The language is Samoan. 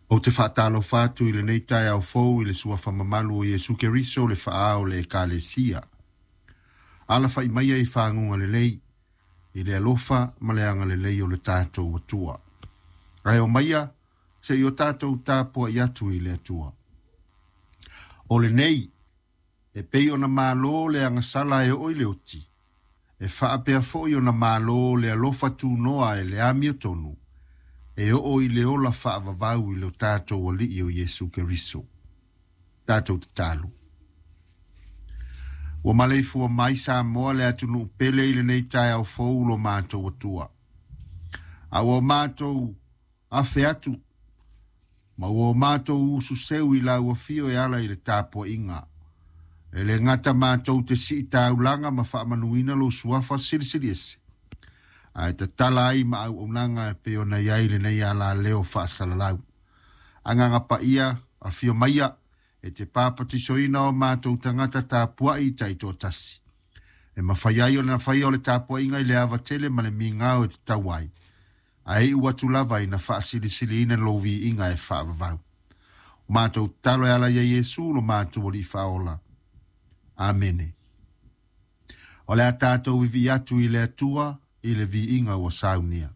Ou te faatalofa atu i lenei taeao fou i le suafa mamalu o Iesu Keriso le Faa o le Ekalesia. Alafa'i maia i faguga lelei, i le alofa ma le agalelei o le tatou Atua. Ae omaia se'i o tatou tapua'i atu i le Atua. O lenei, e pei ona malo le agasala e oo i le oti, e faapea foi ona malo le alofa tunoa e le amiotonu, e oo i le ola faavavau i lo tatou Alii o Iesu Keriso. Tatou tatalo. Ua maleifua mai Samoa le atunuu pele i lenei taeao fou lo matou Atua. A ua matou afe atu ma ua matou ususeu i lau afio e ala i le tapuaiga. E le gata matou te sii taulaga ma faamanuina lou suafa silisili ese. Ae tatala ai ma auaunaga e pei ona i ai lenei alaleo faasalalau. Agaga Paia, afio maia, e te papatisoina o matou tagata tapuai taitoatasi. E mafai ai ona faia o le tapuaiga i le ava tele ma le migao e tatau ai. Ae iu atu lava ina faasilisiliina lou viiga e faavavau. O matou tatalo e ala ia Iesu lo matou Alii Faaola. Amene. O le a tatou vivii atu i le Atua i le viiga ua saunia.